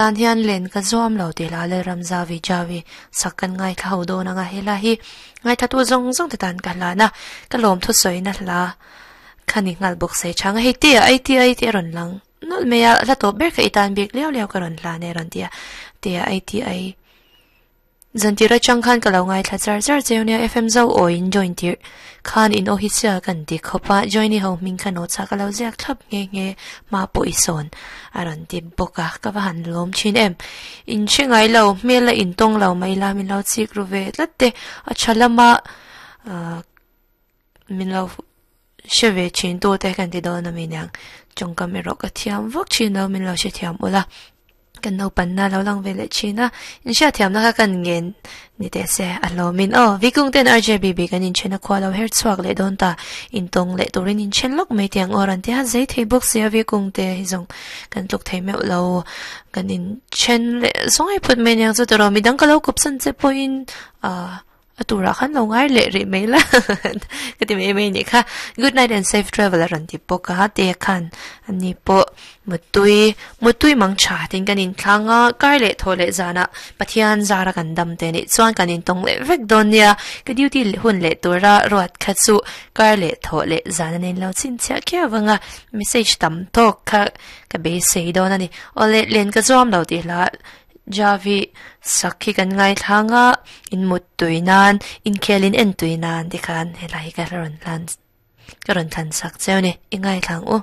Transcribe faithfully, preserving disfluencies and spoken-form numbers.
Tan hian len ka zuam lo tih hla Lalramzavi Javi sak kan ngaithla ho dawn anga hela hi ngaithla tu zawng zawng te tan ka hlan a, ka lawm thusawina hla kha ni nghal bawk se chang a, hei te ah ai te ai te a rawn lang nawlh mai a, hla tawp ber kha i tan bik liau liau ka rawn hlan e a rawn ti a, te ah ai te ai. Zantir atang khan ka lo ngaithla char char cheu nia F M zo aw in join tirh khan in aw hi chhia kan ti khawp a, join i ho hming kha notes ah ka lo ziak thlap nghe nghe hma pawh i sawn a rawn ti bawk a, ka va han lawm thin em. In hre ngai lo, hmel a in tawng lo mai la min lo chik ru ve tlat te, a tha lama ah min lo hre ve thin tu te kan ti dawn a mi niang, tawngkam erawh ka thiam vak thin lo min lo hrethiam ula. Kan naupanna lo lang ve leh thin a, inhriatthiamna kha kan ngen ni teh se a hlawmin aw. Vikung ten R J B B kan inchhen a khua lo her chhuak leh dawn ta, intawng leh turin inchhen lawk mai tiang aw rawn ti a, zei thei bawk si a Vikung te hi zawng kan tluk thei meuh lo, kan inchhen leh zawngai phut mai aniang chu tawrh midang ka lo kawpsan che pawhin ah A turah khan lo ngai leh rih mai la ka ti mai mai nih kha. Good night and safe travel a rawn ti bawk a, te khan ani pawh mutui mutui mang tha tin kan inthlang a, kar leh thaw leh zanah Pathian zara kan dam te nih chuan kan intawng leh vek dawn nia. Ka duty hun leh tura ruat kha chu kar leh thaw leh zan a nen lo chhinchhiah khiau vang a, message tam tawk kha ka beisei dawn a ni. Awle len ka zuam lo tih hla Javi sak hi kan ngaithlang a, in mut tui nan, inkhel in en tui nan tikhan helai hi ka rawn hlan ka rawn thlan sak cheu ni, i ngaithlang u.